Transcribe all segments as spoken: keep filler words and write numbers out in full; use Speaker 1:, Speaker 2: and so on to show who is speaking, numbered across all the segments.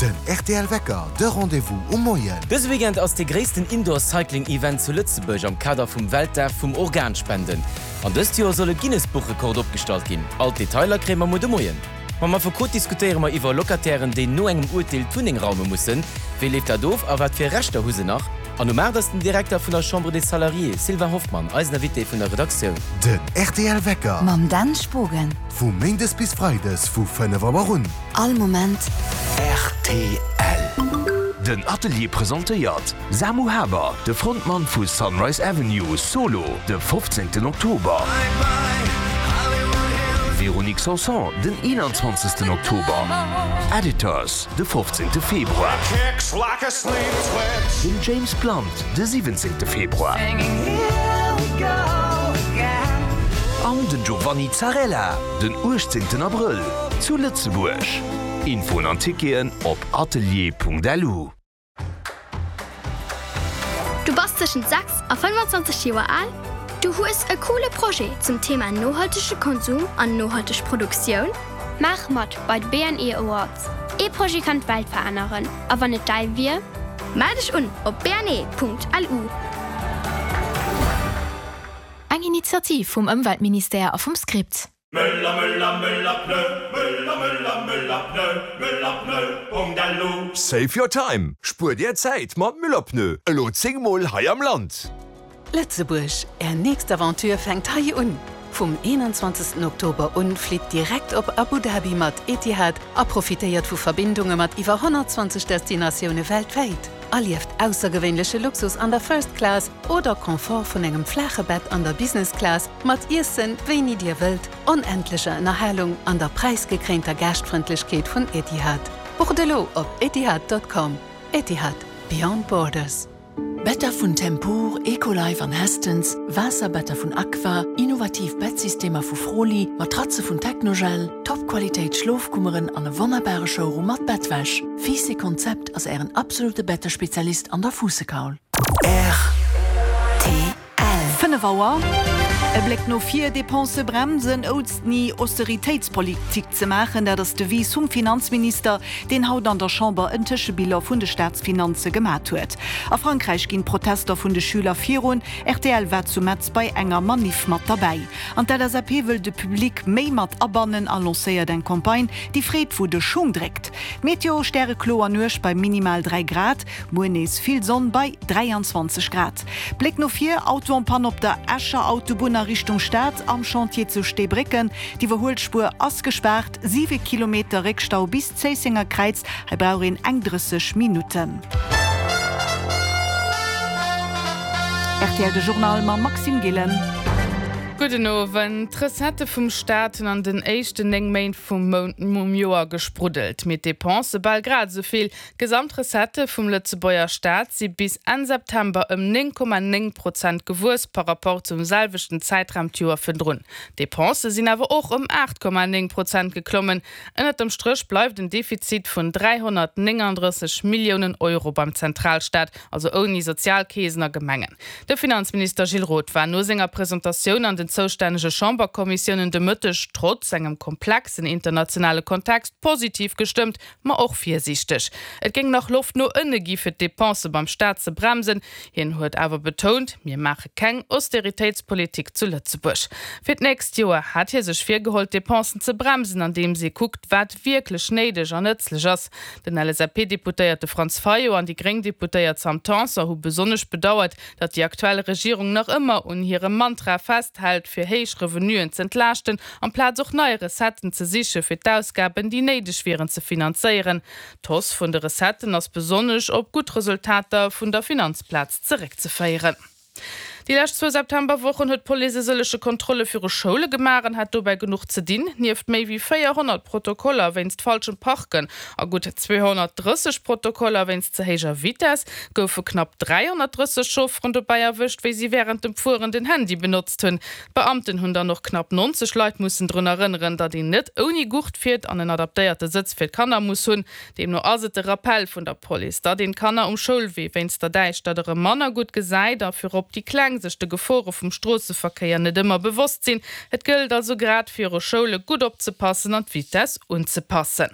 Speaker 1: Den rtl Wecker, de Rendez-vous um Moien.
Speaker 2: Dëse Weekend ass de gréissten Indoor Cycling Event zu Lëtzebuerg am Kader vum Weltdag vum Organspenden. An dëst Joer soll e Guinness-Buchrekord opgestallt ginn. All d'Detailer kréie mer muer de Moien. Mam Affekot diskutéiere mer iwwer Locatairen, déi no engem Urteel d'Wunneng raume mussen. Wéi leeft dat of a wat fir Rechter hu se nach? An um aacht ass den Direkter vun der Chambre des Salariés, Sylvain Hoffmann, eisen Invité vun der Redaktioun.
Speaker 1: Den rtl Wecker.
Speaker 3: Mam Dan Spogen.
Speaker 1: Vu méindes bis freides vu fënnef Auer un.
Speaker 3: All Moment.
Speaker 4: Rtl. Den Atelier presentéiert Samu Haber, de Frontmann vu Sunrise Avenue, solo, de fofzéngten Oktober. Véronique Sanson, den eenanzwanzegsten Oktober. Editors, de fofzéngte Februar. Den James Blunt, de siwwenzéngte Februar. An den Giovanni Zarrella, den uechtzéngten Abrëll zu Lëtzebuerg. Infoen an Ticketen op atelier.lu.
Speaker 5: Du bass tëschent sechs a fënnfanzwanzeg Joer al? Du hues e coole Projet zum Thema nohaltege Konsum an nohalteg Produktioun?
Speaker 6: Maach mat bei de B N E Awards. Ee Projet kann d'Welt veränneren. A wann et däi wier?
Speaker 5: Mell dech un op b n e Punkt l u.
Speaker 7: Eng Initiativ vum Ëmweltministère a vum Script.
Speaker 8: Müller, Müller, Müller, Pneu, Müller, Müller, Müller, Pneu, Müller, Pneu, Punkt L U.
Speaker 9: Save your time! Spuer dir Zäit mat Müller Pneu. Elo zéng Mol hei am Land.
Speaker 10: Lëtzebuerg, Är nächst Aventure fänkt hei un. Vum eenanzwanzegsten Oktober un flitt direkt op Abu Dhabi mat Etihad a profitéiert vu Verbindunge mat iwwer honnertzwanzeg Destinatioune weltwäit. Erlieft aussergewéinleche Luxus an der First Class oder Confort vun engem flaache Bett an der Business Class mat Iessen, wéini dir wëllt, onendlecher Ënnerhalung an der präisgekréinter Gaaschtfrëndlechkeet vun Etihad. Bucht elo op etihad Punkt com. Etihad, Beyond Borders.
Speaker 11: Better vun Tempur, Ecolife an Hästens, Waasserbetter vun Aqua, innovativ Bettsystemer vu Froli, Matratze vun Technogel, Topqualitéit Schlofkummeren an e wonnerbare Showroom mat Bettwäsch. Fiiss Konzept ass ären absolute Bettespezialist an der Fuussekaul.
Speaker 3: R T L.
Speaker 12: Fënnef Auer. E Bléck no vir, Depensë bremsen, ouni Austeritéitspolitik ze maachen, dat ass d'Devise vum Finanzminister, deen haut an der Chamber en Tëschebilan vun de Staatsfinanze gemaach huet. A Frankräich ginn d'Protester vun de Schüler virun, R T L war zu Metz bei enger Manif mat derbäi. An d'L S A P wëll de Public méi mat abannen a lancéiert eng Campagne, déi freet, wou de Schung dréckt. Meteo: Stärekloer Nuecht bei minimal dräi Grad, muer nees vill Sonn bei dräianzwanzeg Grad. Bléck no vir, Auto en panne op der Escher Autobunn a Richtung Stad am Chantier zu Steebrécken. D'Iwwerhuelspuer ass gespaart, siwe Kilometer Réckstau bis Zéissenger Kräiz, hei brauch een eng drësseg Minutten. R T L de Journal mam Maxime Gillen.
Speaker 13: Gudden Owend. D'Recettë vum Staat hunn an den éischten néng Méint vum Mount vum Joer gespruddelt. Mee d'Depensë bal grad esou vill. D'Gesamtrecettë vum Lëtzebuerger Staat si bis Enn September ëm néng Komma néng Prozent gewuess par rapport zum selwechten Zäitraum d'Joer virdrun. D'Depensë sinn awer och ëm aacht Komma néng Prozent geklommen. Ënnert dem Stréch bleift en Defizit vun dräihonnertnénganddrësseg Milliounen Euro beim Zentralstaat, also ouni Sozialkeesen a Gemengen. De Finanzminister Gilles Roth war no senger Presentatioun an den zoustännege Chamberkommissiounen de Mëtteg trotz engem komplexen internationale Kontext positiv gestëmmt, ma och virsiichteg. Et géing nach Loft no ënne gi fir d'Depensë beim Staat ze bremsen. Hien huet awer betount, mir maache keng Austeritéitspolitik zu Lëtzebuerg. Fir d'nächst Joer hat hie sech virgeholl, d'Depensen ze bremsen, andeems e kuckt, wat wierklech néideg an nëtzlech ass. Den L S A P-Deputéierte Franz Fayot an déi gréng Deputéiert Sam Tanson hu besonnesch bedauert, datt déi aktuell Regierung nach ëmmer un hirem Mantra festhält, fir héich Revenuen z'entlaaschten, amplaz och nei Recetten ze siche fir d'Ausgaben, déi néideg wieren ze finanzéieren. D'Hausse vun de Recetten ass besonnesch op gutt Resultater vun der Finanzplaz zeréckzeféieren. Déi lescht zwou Septemberwochen huet d'Police e sëllege Kontrolle viru Schoule gemaach an hat dobäi genuch ze dinn. Nieft méi wéi véierhonnert Protokoller wéinst falschem Parken a gutt zweehonnertdrësseg Protokoller wéinst ze héijer Vitess goufe knapp dräihonnertdrësseg Chaufferen dobäi erwëscht, wéi si wärend dem Fueren den Handy benotzt hunn. D'Beamten hunn dann och knapp neunzeg Leit mussen drun erënneren, datt een net ouni Gurt fiert an en adaptéierte Sëtz fir d'Kanner muss hunn. Deemno ass et de Rappell vun der Police, datt een d'Kanner um Schoulwee wéinst der Däischtert erëm manner gutt gesäit a virop déi Kleng sech de Gefore vum Stroosseverkéier net ëmmer bewosst sinn. Et gëllt also grad viru Schoule gutt opzepassen an d'Vitess unzepassen.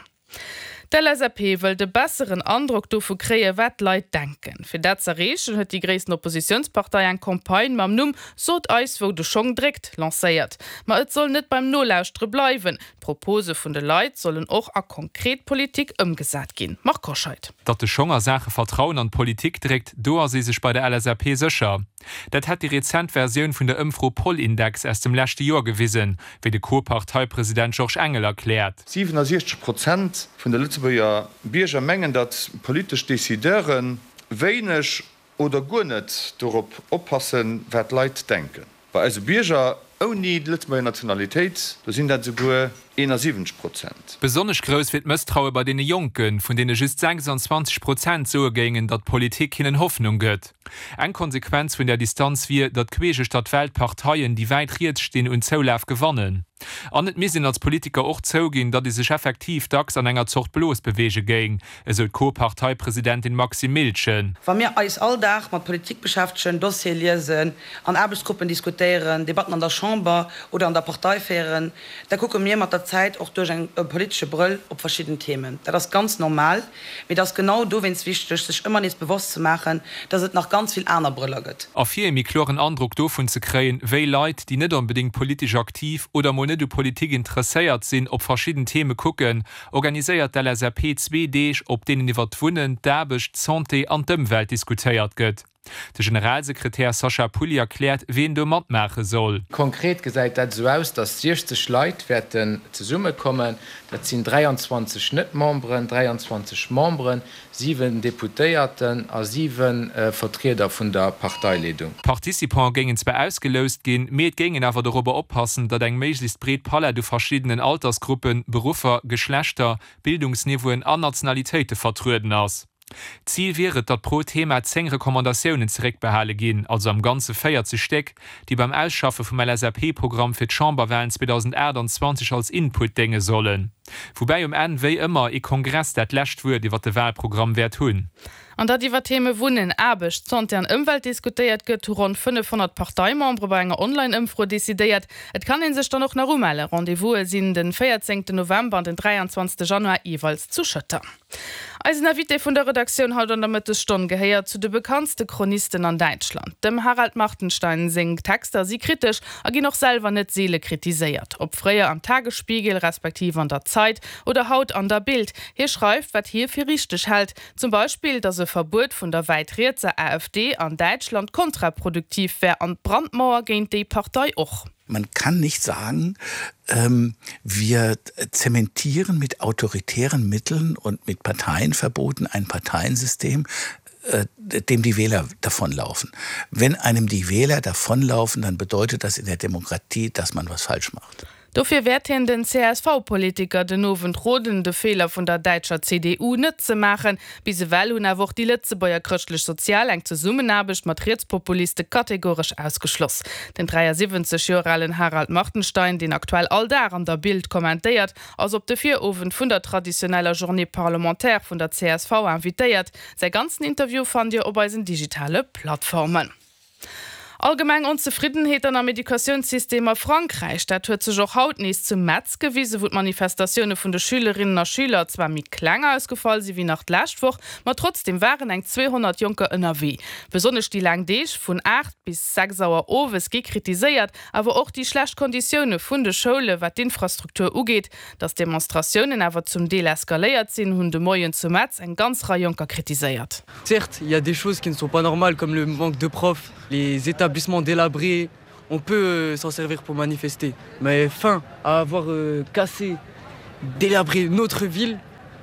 Speaker 13: D'LSAP wëllt e besseren Androck dovu kréien, wat d'Leit denken. Fir dat z'erreechen, huet déi gréissten Oppositiounspartei eng Campagne mam Numm Sot eis, wou de Schong dréckt lancéiert. Ma et soll net beim Nolauschtere bleiwen, d'Propose vun de Leit sollen och a konkret Politik ëmgesat ginn. Marc Hoscheid.
Speaker 14: Datt de Schong a Saache Vertrauen an d'Politik dréckt, do ass ee sech bei der LSAP sécher. Dat hätt déi rezent Versioun vun der Ëmfro Polindex aus dem leschte Joer gewisen, wéi de Co-Parteipresident Georges Engel erkläert.
Speaker 15: siwennsechzeg Prozent vun de Lëtzebuerger Bierger mengen, datt politesch Decideure wéineg oder guer net dorop oppassen, wat d'Leit denken. Bei eise Bierger ouni Lëtzebuerger Nationalitéit, do sinn dat esouguer eenasiwwenzeg Prozent.
Speaker 14: Besonnesch grouss wier d'Mësstraue bei deene Jonken, vun deene just sechsanzwanzeg Prozent soe géingen, datt d'Politik hinnen Hoffnung gëtt. Eng Konsequenz vun där Distanz wier, datt queesch uechter d'Welt Parteien, déi wäit riets stinn, un Zoulaf gewannen. An et misst een als Politiker och zouginn, datt ee sech effektiv dacks an enger Zort Blos beweege géing, esou d'Co-Parteipresidentin Maxime Miltgen.
Speaker 16: Wa mir eis all Dag mat Politik beschäftegen, Dossiere liesen, an Aarbechtsgruppen diskutéieren, Debatten an der Chamber oder an der Partei féieren, da kucke mir mat der Zäit och duerch eng politesche Brëll op verschidden Themen. Dat ass ganz normal, mee et ass genau dowéinst wichteg, sech ëmmer nees bewosst ze maachen, dass et nach ganz vill aner Brëller gëtt.
Speaker 14: A fir ee méi kloren Androck dovun ze kréien, wéi Leit, déi net onbedéngt politesch aktiv oder mol net u Politik interesséiert sinn, op verschidden Theme kucken, organiséiert d'LSAP zwee Deeg, op deenen iwwer d'Wunnen, d'Aarbecht, d'Santé an d'Ëmwelt diskutéiert gëtt. De Generalsekretär Sascha Pulli erkläert, wien do matmaache soll.
Speaker 17: Konkret gesäit dat esou aus, datt siechzeg Leit wäerten zesummekommen. Dat sinn dräianzwanzeg Net-Memberen, dräianzwanzeg Memberen, siwen Deputéierten a siwe Vertrieder vun der Parteileedung.
Speaker 14: D'Participante géingen zwar ausgeloust ginn, mee et géing een awer dorobber oppassen, datt eng méiglechst breet Palett u verschiddenen Altersgruppen, Beruffer, Geschlechter, Bildungsniveauen an Nationalitéite vertrueden ass. Zil wier et, datt pro Thema zéng Recommandatiounen zeréckbehale ginn, also am Ganze véierzeg Stéck, déi beim Ausschaffe vum LSAP-Programm fir d'Chamberwalen zweedausendachtanzwanzeg als Input dénge sollen. Woubäi um Enn, wéi ëmmer, ee Kongress dat lescht Wuert iwwer de Walprogramm wäert hunn.
Speaker 13: An datt iwwer Theme Wunnen, Aarbecht, Santé an Ëmwelt diskutéiert gëtt, hu ronn fënnefhonnert Parteimembere bei enger Online-Ëmfro decidéiert. Et kann ee sech dann och nach umellen. Rendez-vouse sinn de véierzéngten November an den dräianzwanzegste Januar jeeweils zu Schëtter. Eisen Invité vun der Redaktioun haut an der Mëttesstonn gehéiert zu de bekanntste Chronisten an Däitschland. Dem Harald Martenstein seng Texter si kritesch a ginn och selwer net seele kritiséiert. Ob fréier am Tagesspiegel respektiv an der Zeit oder haut an der Bild, hie schreift, wat hie fir richteg hält. Zum Beispill, datt e Verbuet vun der wäit rietser AfD an Däitschland kontraproduktiv wär an d'Brandmauer géint déi Partei och.
Speaker 18: Man kann nicht sagen, wir zementieren mit autoritären Mitteln und mit Parteienverboten ein Parteiensystem, dem die Wähler davonlaufen. Wenn einem die Wähler davonlaufen, dann bedeutet das in der Demokratie, dass man was falsch macht.
Speaker 13: Dofir wäert hien den C S V-Politiker den Owend roden, de Feeler vun der däitscher C D U net ze maachen. Bis ewell hunn awer och déi Lëtzebuerger Chrëschtlech Sozial eng Zesummenaarbecht mat Rietspopuliste kategoresch ausgeschloss. Den dräiasiwwenzeg Joer alen Harald Martenstein, deen aktuell all Dag an der Bild kommentéiert, ass op de Virowend vun der traditioneller Journée parlementaire vun der C S V invitéiert. Säi ganzen Interview fannt Dir op eisen digitale Plattformen. Allgemeng Onzefriddenheet am Educatiounssystem a Frankräich, dat huet sech och haut nees zu Metz gewisen, wou d'Manifestatioune vun de Schülerinnen a Schüler zwar méi kleng ausgefall si wéi nach d'lescht Woch, ma trotzdeem waren eng zweehonnert Jonker ënnerwee. Besonnesch déi laang Deeg vun aacht bis sechs Auer owes gi kritiséiert, awer och déi schlecht Konditioune vun de Schoule wat d'Infrastruktur ugeet. Datt d'Demonstratiounen awer zum Deel eskaléiert sinn, hunn de Moien zu Metz eng ganz Rei Jonker kritiséiert.
Speaker 19: Certes, il y a des choses qui ne sont pas normales comme le manque de profs, les établissements délabrés, on peut s'en servir pour manifester. Mais fin, à avoir cassé, délabré notre ville,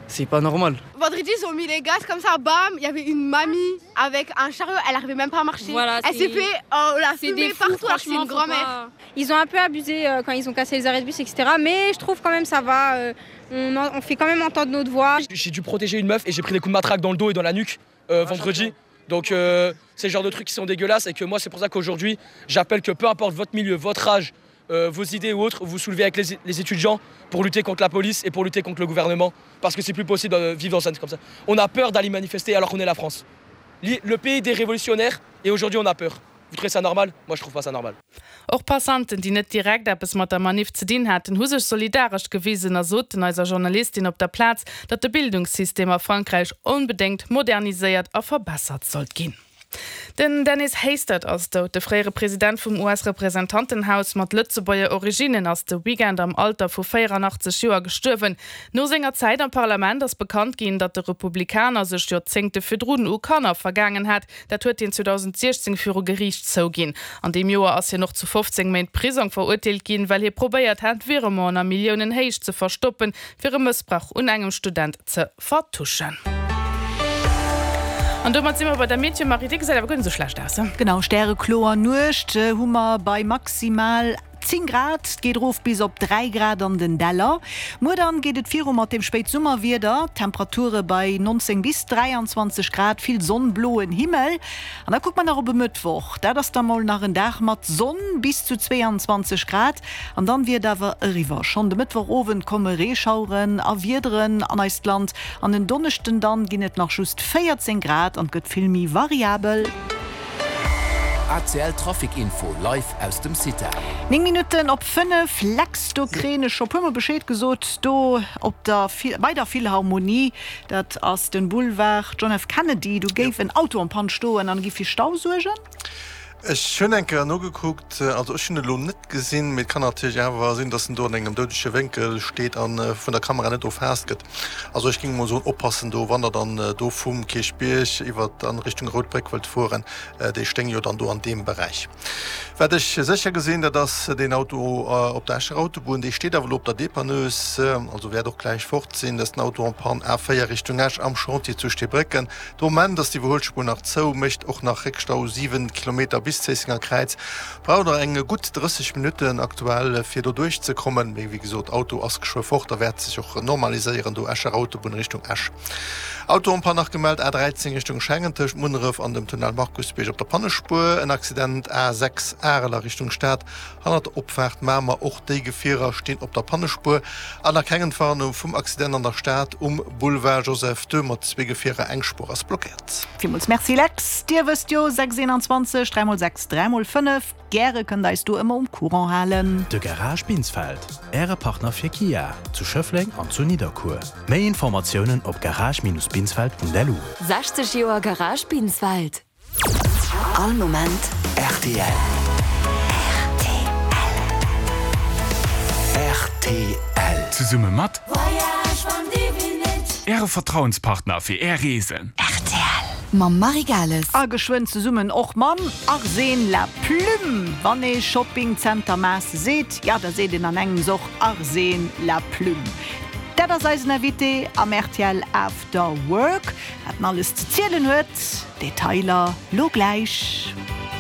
Speaker 19: c'est pas normal.
Speaker 20: Vendredi, ils ont mis les gaz comme ça, bam, il y avait une mamie avec un chariot, elle arrivait même pas à marcher.
Speaker 21: Voilà,
Speaker 20: elle s'est
Speaker 21: c'est-
Speaker 20: fait oh, la
Speaker 21: c'est
Speaker 20: fumée
Speaker 21: des fous,
Speaker 20: partout, alors que c'est
Speaker 21: franchement,
Speaker 20: une
Speaker 21: faut
Speaker 20: grand-mère.
Speaker 21: pas- Ils ont un peu abusé euh, quand ils ont cassé les arrêts de bus, et cetera. Mais je trouve quand même ça va. euh, on, en- on fait quand même entendre notre voix.
Speaker 22: J'ai dû protéger une meuf et j'ai pris des coups de matraque dans le dos et dans la nuque euh, vendredi. Donc euh, c'est le genre de trucs qui sont dégueulasses et que moi c'est pour ça qu'aujourd'hui j'appelle que peu importe votre milieu, votre âge, euh, vos idées ou autres, vous soulevez avec les, les étudiants pour lutter contre la police et pour lutter contre le gouvernement. Parce que c'est plus possible de vivre dans un comme ça. On a peur d'aller manifester alors qu'on est la France. Le pays des révolutionnaires et aujourd'hui on a peur. Vous trouvez ça normal? Moi je trouve pas ça normal.
Speaker 13: Och Passanten, déi net direkt eppes mat der Manif ze dinn haten, hu sech solidaresch gewisen a soten eiser Journalistin op der Plaz, datt de Bildungssystem a Frankräich onbedéngt moderniséiert a verbessert sollt ginn. Den Dennis Hastert ass dout. De fréiere President vum U S-Representantenhaus mat Lëtzebuerger Originnen ass de Weekend am Alter vu véieranaachtzeg Joer gestuerwen. No senger Zäit am Parlament ass bekannt ginn, datt de Republikaner sech Joerzéngte virdrun u Kanner vergaangen hat. Dat huet hien zweedausendsiechzéng viru Geriicht zouginn. An deem Joer ass hien och zu fofzéng Méint Prisong verurteelt ginn, well hie probéiert hat, Virementen a Milliounenhéicht ze verstoppen, fir e Mëssbrauch un engem Student ze vertuschen. An domat si mer bei der Meteo, Marie, déi gesäit awer guer net sou schlecht aus.
Speaker 12: Genau, stärekloer Nuecht hu mer bei maximal zéng Grad, et geet erof bis op dräi Grad an den Däller. Muer dann geet et viru mat dem Spéitsummerwieder, Temperature bei neunzéng bis dräianzwanzeg Grad, vill Sonn, bloen Himmel. An da kucke mer nach op e Mëttwoch, dat ass da mol nach en Dag mat Sonn, bis zu zweeanzwanzeg Grad. An dann wier et awer eriwwer. Schonn de Mëttwochowend komme Reeschaueren a Wiederen an eist Land. An en Donneschden dann ginn et nach just véierzéng Grad an et gëtt vill méi variabel.
Speaker 4: A C L Trafic Info live aus dem CITA.
Speaker 12: Néng Minutten op fënnef, Lex, do kréien ech scho puermol Bescheed gesot, do op der bei der Philharmonie, dat ass den Boulevard John F. Kennedy, do géif en Auto en panne stoen an géif fir Stau suergen?
Speaker 1: Ech hunn eng Kéier nogekuckt, also ech hunn et elo net gesinn, mee et kann natierlech awer sinn, dass en do an engem doudege Wénkel steet a vun der Kamera net erfaasst gëtt. Also ech géing emol soen, oppassen do, wann der dann do vum Kierchbierg iwwer an Richtung Rout Bréck wëllt fueren, déi stéing jo dann do an deem Beräich. Wat ech sécher gesinn, dat ass deen Auto op der Escher Autobunn, dee steet awer elo op der Dépanneuse, also wäert och gläich fort sinn, dat ass den Auto en panne A véier Richtung Esch am Chantier zu Steebrécken. De Moment ass d'Iwwerhuelspuer nach zou, mécht och nach Réckstau, siwen Kilometer bis Zéissenger Kräiz. Braucht der eng gutt drësseg Minutten aktuell fir do duerch ze kommen, mee wéi gesot Auto ass geschwë fort, da wäert sech och normaliséieren do Escher Autobunn Richtung Esch. Auto en panne nach gemellt A dräizéng Richtung Schengen tëscht Munneref an dem Tunnel Markusbierg op der Pannespuer, en Accident A sechs Arel a Richtung Stad hannert der Opfaart Mamer, och déi Gefierer stinn op der Pannespuer an nach keng Entwarnung vum Accident an der Stad um Boulevard Joseph ii mat zwee Gefierer, eng Spuer ass blockéiert.
Speaker 12: Villmools Merci Lex. Dir wësst jo, sechs eenanzwanzeg, dräi mol sechs, dräi mol fënnef, gäre kënnt der eis do ëmmer um Courant halen.
Speaker 2: De Garage Binsfeld, Äre Partner fir Kia, zu Schëffleng an zu Nidderkuer. Méi Informatiounen op garage-binsfeld Punkt L U.
Speaker 3: Sechzeg Joer Garage Binsfeld. All Moment
Speaker 4: R T L. R T L.
Speaker 23: Zesumme mat Äre Vertrauenspartner fir Är Reesen.
Speaker 3: Mam Marie Gales.
Speaker 12: A geschwënn zesummen och mam Arsène Laplume. Wann ee Shopping Center Maas seet, ja da seet een an engems och Arsène Laplume. Dat ass eisen Invité am R T L After Work. Wat en alles ze zielen huet, Detailer lo gläich.